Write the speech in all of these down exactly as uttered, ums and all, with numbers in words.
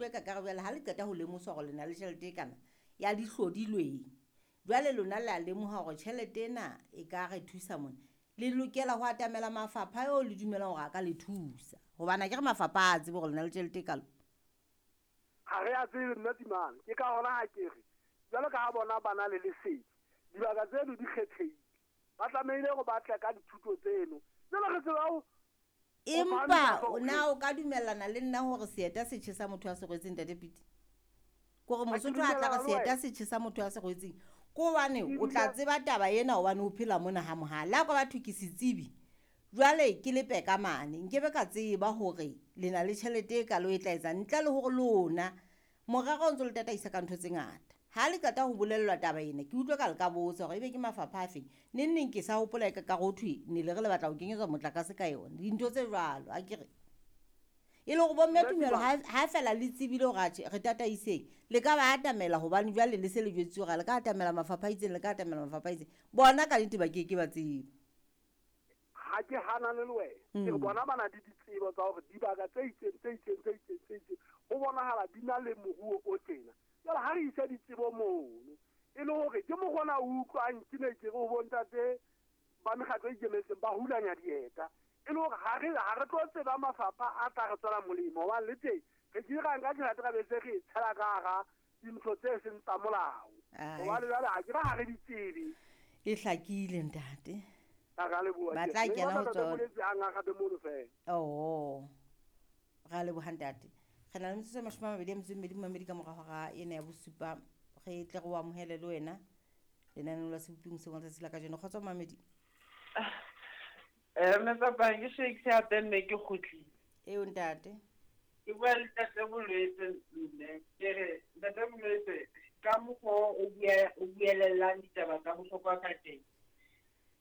utlwe ka kare jwale ha le qeta ho lemoswa hore le na le tjhelete e kana ya dihlodilweng, jwale lona le a lemoha hore tjhelete ena e ka re thusa mona. Le lokela ho atamela mafapha eo le dumelang hore a ka le thusa, hobane akere mafapha a tsebe hore le na le tjhelete e kalo. Ha re a tsebe mme Timane, ke ka hona ha ke re jwalo ka ha bona ba na le lesedi, dibaka tseno di kgethehile, ba tlamehile hore ba tle ka dithuto tseno. Jwale re tseba ho Empa na o ka dumellana le nna hore seeta se tjhesa motho a se rwetseng, Ntate Piti? Kore Mosotho a tla re seeta se tjhesa motho a se rwetseng, ke hobane o tla tseba taba ena hobane o phela mona ha Mohale. Le ha ka batho ke setsebi, jwale ke lepe ka mane, nkebe ka tseba hore le na le tjhelete e kalo e tla etsang, ntle le hore lona morero o ntso le tataisa ka ntho tse ngata. Ha le qeta ho bolellwa taba ena, ke utlwe ka le ka botsa hore ebe ke mafapha a feng. Neng neng ke sa hopola e ka ka ho thwe ne le re le batla ho kenyetswa motlakase ka yona, dintho tse jwalo akere. E le hore bomme tumelo ha, ha fela le tsebile hore atjhe re tataiseng, le ka ba atamela hobane jwale le se le jwetsitse hore le ka atamela mafapha a itseng, le ka atamela mafapha a itseng. Bona ka nnete ba ke ke ba tseba. Ha ke hanane le wena, ke re bona ba na le ditsebo tsa hore dibaka tse itseng, tse itseng, tse itseng, tse itseng, ho bonahala di na le moruo o tjena. Jwale ha re isa ditsebo mono, e le hore ke mokgona o utlwang ke ne ke re ho bontate ba mekgatlo e ikemetseng ba hulanya dieta, e le hore ha re, ha re tlo tseba mafapha a tla re tswela molemo, hobane le teng re ke ra nka tjhelete ra be se re e tshela ka hara dintho tse seng tsa molao. Hobane jwale ha ke re ha re di tsebe. E hlakile ntate. Ba ra leboha. Ba tla kena ho tsona. Boletse a ngaka mono fela. Oh. Ra leboha ntate. Re na le metsotso e mashome a mabedi a metso e mmedi momamedi ka mora hora ena ya bosupa. Re tle re o amohele le wena lenaneo la Seboping hoseng wa letsatsi la kajeno. Kgotso momamedi. Eh, mme papa, ke Shakes hape mme ke kgutlile. Eo ntate. Ke bua le Ntate Bolwetse mme, ke re Ntate Bolwetse ka mokgwa o bua, o buelellang ditaba tsa bohlokwa ka teng.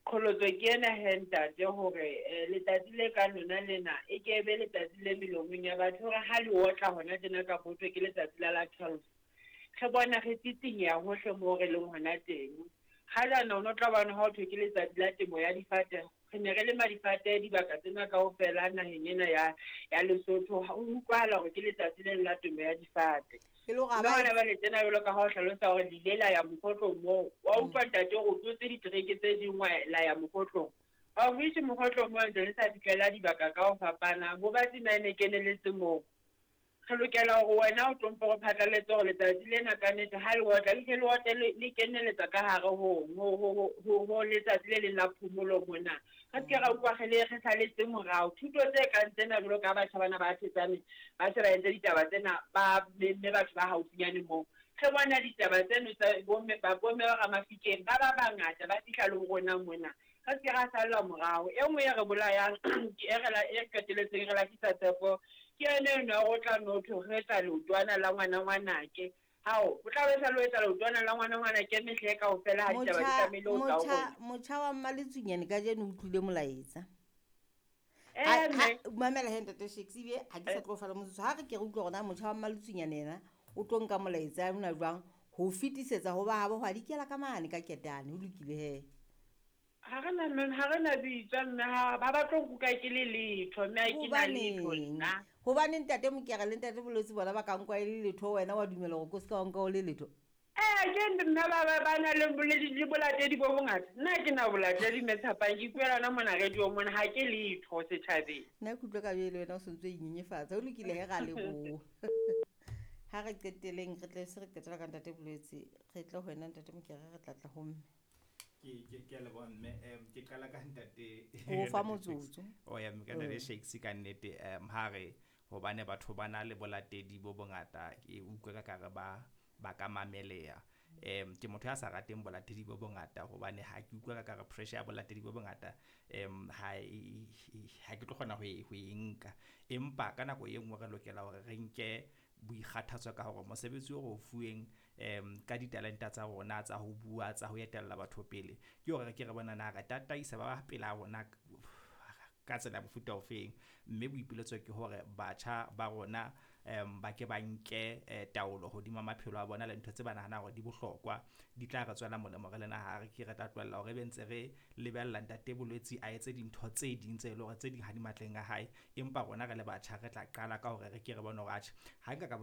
Qholotso ke ena he ntate hore, eh, letsatsi le ka lona lena e ke be letsatsi le melomong ya batho hore ha le otla hona tjena ka potso ke letsatsi la la twelve. Re bona re tsitsinya hohle moo re leng hona teng. Ha jana o no tla bona ha ho thwe ke letsatsi la temo ya difate, re ne re lema difate dibaka tsena kaofela naheng ena ya, ya Lesotho. Ha o utlwahala hore ke letsatsi le la temo ya difate. E le hore ha Mme ba hona jwale tjena jwalo ka ha o hlalosa hore le ile la ya mokgotlong moo, wa utlwa ntate hore o tlotse ditereke tse ding wa la ya mokgotlong. Ha o fihle mokgotlong moo ntse le sa fihlela dibaka ka ho fapana, bo batsi na ne keneletse moo. Re lokela hore wena o tlo mpo re phatlaletse hore letsatsi lena ka nnete ha le otla, le hle le otle le, le keneletsa ka hare ho, ho, ho, ho, ho letsatsi le leng la phomolo mona. Re se ke ra utlwa re le re saletse morao. Thuto tse kang tsena jwalo ka batjha bana ba thetsane, ba se ba entse ditaba tsena, ba memme batho ba haufinyane moo. Re bona ditaba tseno tsa bomme, ba bomme ba Ramafikeng, ba ba bangata ba fihla le ho rona mona. Re se ke ra sallwa morao. E nngwe e re bolayang, ke e re la, e qetelletseng re lahlisa tshepo, ke yone eno ya ho tla no thwe re etsa leotwana la ngwana ngwanake. Hao, o tla be sa lo etsa leotwana la ngwana ngwanake mehle kaofela ha ditaba di Motjha, tlamehile ho tla ho motjha, rona. motjha wa Mmaletsunyane kajeno o utlwile molaetsa. Eh, Ha, mme. ha, mamela he Ntate Shakes, ebe ha ke sa Eh. tlo fala motsotso. Ha re ke re utlwe hore na motjha wa Mmaletsunyane yena o tlo nka molaetsa ona jwang ho fetisetsa ho ba habo, ho a dikela ka mane ka ketane. Ho lokile he. Ha re na mme, ha re na bitsa mme, ha ba ba tlo nkuka ke le letho, mme ha ke na letho Hobaneng? nna. Hobane Ntate Mokere le Ntate Bolwetse bona ba ka nkwa e le letho, wena wa dumela hore ko se ka wa nka o le letho? Eh, ke mme ba, ba, ba na le boledi, le bolatedi bo bongata. Nna ha ke na bolatedi mme Tshapang, ke ipuela hona mona radio mona, ha ke letho setjhabeng. Nna ke utlwa ka jwale wena o sontso o inyenyefatsa. Ho lokile he, ra leboha. Ha re qeteleng, re tle se re qetela ka Ntate Bolwetse, re tle ho wena Ntate Mokere, re tla tla ho mme. Ke, ke, ke a leboha mme. Em, ke qala ka ntate O fa Ntate motsotso. Shakes. Oh, ya, ka Ntate Mm. Shakes ka nnete, em, ha re hobane batho ba na le bolatedi bo bongata, ke utlwe ka kare ba, ba ka mameleha. Em, ke motho ya sa rateng bolatedi bo bongata hobane ha ke utlwe ka kare pressure ya bolatedi bo bongata, em, ha e, e, ha ke tlo kgona ho e, ho e nka. Empa ka nako e nngwe re lokela hore re nke boikgathatso ka hore mosebetsi o re o fuweng, em, ka ditalenta tsa rona tsa ho bua, tsa ho etella batho pele, ke hore re ke re bona na re tataisa ba ba pela rona ka tsela ya mofuta ofeng. Mme boipiletso ke hore batjha ba rona, em, ba ke ba nke, eh, taolo hodima maphelo a bona le ntho tse ba nahanang hore di bohlokwa, di tla re tswela molemo re le naha. Re ke re tla tlohella hore ebe ntse re lebella Ntate Bolwetse a etse dintho tse ding tse leng hore tse ding ha di matleng a hae, empa rona re le batjha re tla qala ka hore re ke re bone hore atjhe ha nka ka